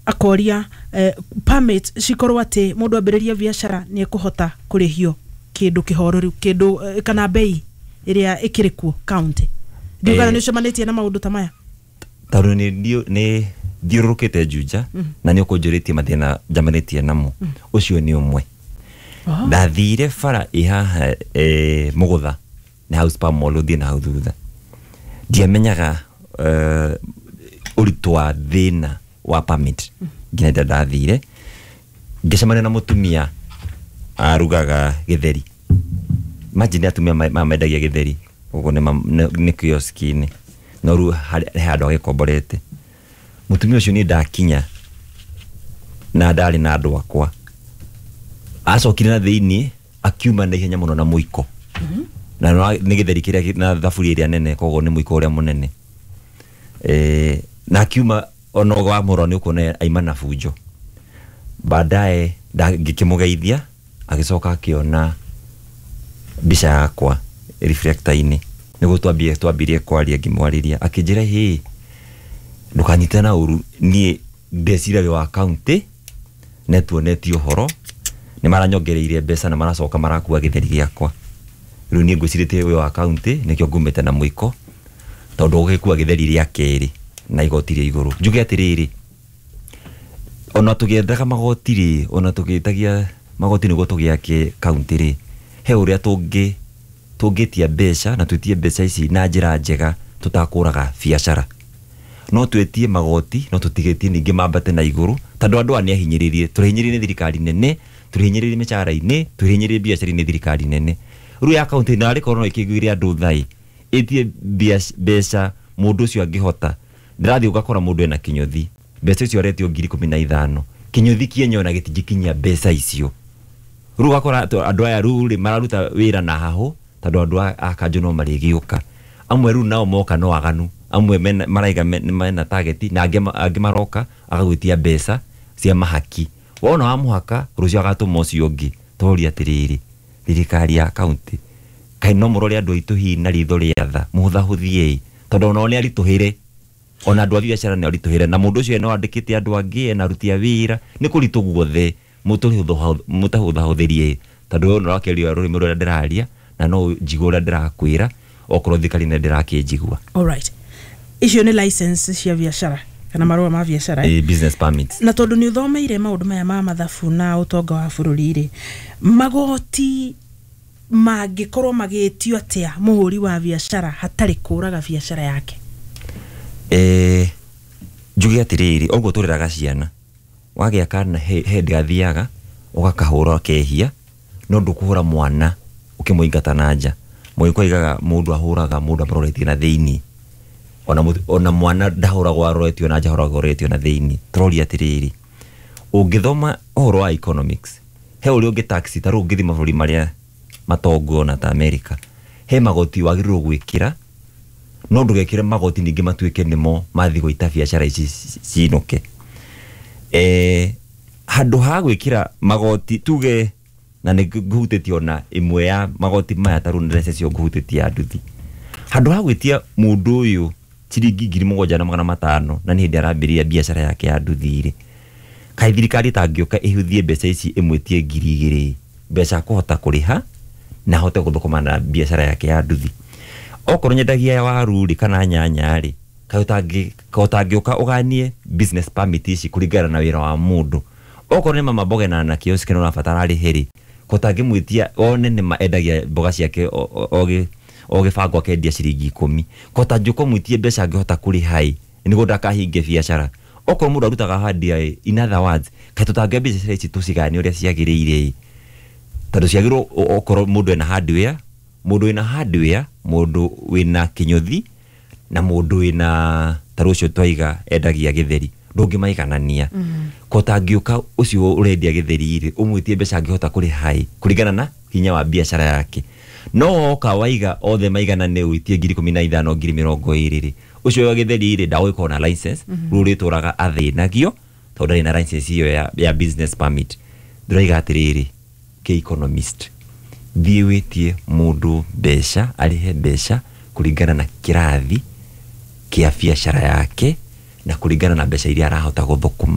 Akoria permit cikorwo atĩ mũndũ ambĩrĩria biacara nĩ ekũhota kũrĩhio kĩndũ kĩhoreri, kĩndũ kana bei ĩrĩa ĩkĩrĩ kuo county. Ndiũgana nĩ ũcemanĩtie na maũndũ ta maya? Tondũ nĩ thiũrũrũkĩte Juja na nĩ ũkũnjũrĩtie mathĩna njamanĩtie namo, ũcio nĩ ũmwe. Ndathire bara ĩ haha Mũgũtha nĩ hau Spar Mall, ũthiĩ na hau thutha, ndiamenyaga ũritũ wa thĩna wa permit nginya rĩrĩa ndathire ngĩcemania na mũtumia arugaga gĩtheri. Imagine atumia mendagia gĩtheri ũguo nĩ kioski-inĩ, no rĩu he handũ agĩkomborete. Mũtumia ũcio, niĩ ndakinya na ndarĩ na andũ akwa, acokire na thĩiniĩ akiuma na ihenya mũno na mũiko na nĩ gĩtheri kĩrĩa na thaburia ĩrĩa nene, koguo nĩ mũiko ũrĩa mũnene, na akiuma ona wamũrora nĩ ũkuona aima na bunjo. Baadaye ngĩkĩmũgeithia, agĩcoka akĩona mbica yakwa reflector-inĩ nĩguo twambirie kwaria. Ngĩmwarĩria, akĩnjĩra, "Hĩ, ndũkanyite na ũru, niĩ ndeciragia wĩ wa county, netuonetie ũhoro nĩ maranyongereire mbeca na maracoka marakua gĩtheri gĩakwa. Rĩu niĩ ngwĩcirĩtie wĩ wa county, nĩkĩo ngumĩte na mũiko, tondũ ũgĩkua gĩtheri rĩa kerĩ na igoti rĩa igũrũ." Njuge atĩrĩrĩ, ona tũgĩethaga magoti rĩ, ona tũgĩtagia magoti nĩguo tũgĩake county rĩ, he ũrĩa tũngĩtia mbeca na twĩtie mbeca ici na njĩra njega tũtakũraga biacara. No twĩtie magoti, no tũtigĩtie ningĩ mambate na igũrũ, tondũ andũ aya nĩ ahinyĩrĩrie. Tũrĩhinyĩrĩrie nĩ thirikari nene, tũrĩhinyĩrĩrie mĩcara-inĩ, tũrĩhinyĩrĩrie biacara-inĩ, thirikari nene rĩu ya kaunti na arĩ korwo no ĩkĩiguĩre andũ thai, ĩtie mbeca mũndũ ũcio angĩhota. Ndĩrathiĩ ũgakora mũndũ ena kĩnyũthi, mbeca icio aretio 15,000, kĩnyũthi kĩenyewe na gĩtingĩkinyia mbeca icio. Rĩu ũgakora andũ aya rĩu rĩ mararuta wĩra na hahũ, tondũ andũ a kanjũ no marĩgĩũka. Amwe rĩu nao moka no aganu, amwe maraiga mena target, na angĩ maroka agagwĩtia mbeca cia mahaki. Wona wa mũhaka rũciũ agatũma ũcio ũngĩ. Tũroria atĩrĩrĩ, thirikari ya kaunti, kaĩ no mũrore andũ aitũ hihi na ritho rĩa tha, mũhũthahũthie, tondũ onao nĩ aritũhĩre, ona andũ a biacara nĩ aritũhĩre, na mũndũ ũcio no andĩkĩte andũ angĩ, ena aruti a wĩra, nĩ kũritũ guothe. Mũtahũthahũthĩrie, tondũ we ũrakĩaria rũrĩmĩ rũrĩa ndĩraria na no njigua ũrĩa ndĩrakwĩra, okorwo thirikari nĩ ndĩrakĩnjigua. Alright, icio nĩ license cia biacara kana marũa ma biacara, eh? Business permits. Na tondũ nĩ ũthomeire maũndũ maya ma mathabu na ũtonga wa bũrũri rĩ, magoti mangĩkorwo magĩtio atĩa mũhũri wa biacara hatarĩ kũraga biacara yake? Njuge atĩrĩrĩ, ũguo tũreraga ciana, wagĩa kana he hĩndĩ gathiaga ũgakahũra kehia, no ndũkũhũra mwana ũkĩmũingata na nja. Mũgĩkũyũ aigaga mũndũ ahũraga mũndũ amũroretie na thĩiniĩ. Ona mwana ndahũragwo aroretio na nja, ahũragwo aroretio na thĩiniĩ. Tũroria atĩrĩrĩ, ũngĩthoma ũhoro wa economics, he ũrĩa ũngĩ tax, ta rĩu ũngĩthiĩ mabũrũri marĩa matongu ona ta America, he magoti wagĩrĩirwo gwĩkĩra, no ndũgekĩre magoti ningĩ matuĩke nĩmo mathiĩ gũita biacara ici cinũke. Handũ ha gwĩkĩra magoti tuge, na nĩ ngũhutĩtie ona ĩmwe ya magoti maya, ta rĩu nĩ icio ngũhutĩtie ya nduthi, handũ ha gwĩtia mũndũ ũyũ ciringi 7,500 na nĩ hĩndĩ arambĩrĩria biacara yake ya nduthi rĩ, kaĩ thirikari ĩtangĩũka ĩhũthie mbeca ici, ĩmwĩtie 2,000, mbeca akũhota kũrĩha na ahote gũthũkũma na biacara yake ya nduthi? Okorwo nyendagia waru rĩ, kana nyanya rĩ, kaĩ ũtangĩũka ũganie business permit ici kũringana na wĩra wa mũndũ? Okorwo nĩ mama mboga na kiosk nĩ ũrabatara arĩhe rĩ, ko ũtangĩmwĩtia one nĩ ma endagia mboga ciake o gĩbango akendia ciringi 10, ko ũtangĩũka ũmwĩtie mbeca angĩhota kũrĩha ĩ, nĩguo ndakahinge biacara? Okorwo mũndũ arutaga hardware ĩ, in other words, kaĩ tũtangĩoya biacara ici tũcigayanie ũrĩa ciagĩrĩire ĩ? Tondũ ciagĩrĩirwo okorwo mũndũ ena hardware, mũndũ wĩna hardware, mũndũ wĩna kĩnyũthi na mũndũ wĩna ta rũcio twaiga endagia gĩtheri, ndũngĩmaiganania. Ko ũtangĩũka ũcio ũrendia gĩtheri rĩ, ũmwĩtie mbeca angĩhota kũrĩha ĩ, kũringana na hinya wa biacara yake? No woka waiga othe maiganane, ũitie 15,000, 20,000 rĩ, ũcio wa gĩtheri rĩ ndagũgĩkorwo na license. Rĩu rĩtũraga athĩnagio tondũ ndarĩ na license ĩyo ya business permit. Ndĩroiga atĩrĩrĩ, kĩ economist, thiĩ wĩtie mũndũ mbeca, arĩhe mbeca kũringana na kĩrathi kĩa biacara yake na kũringana na mbeca iria arahota gũthũkũma.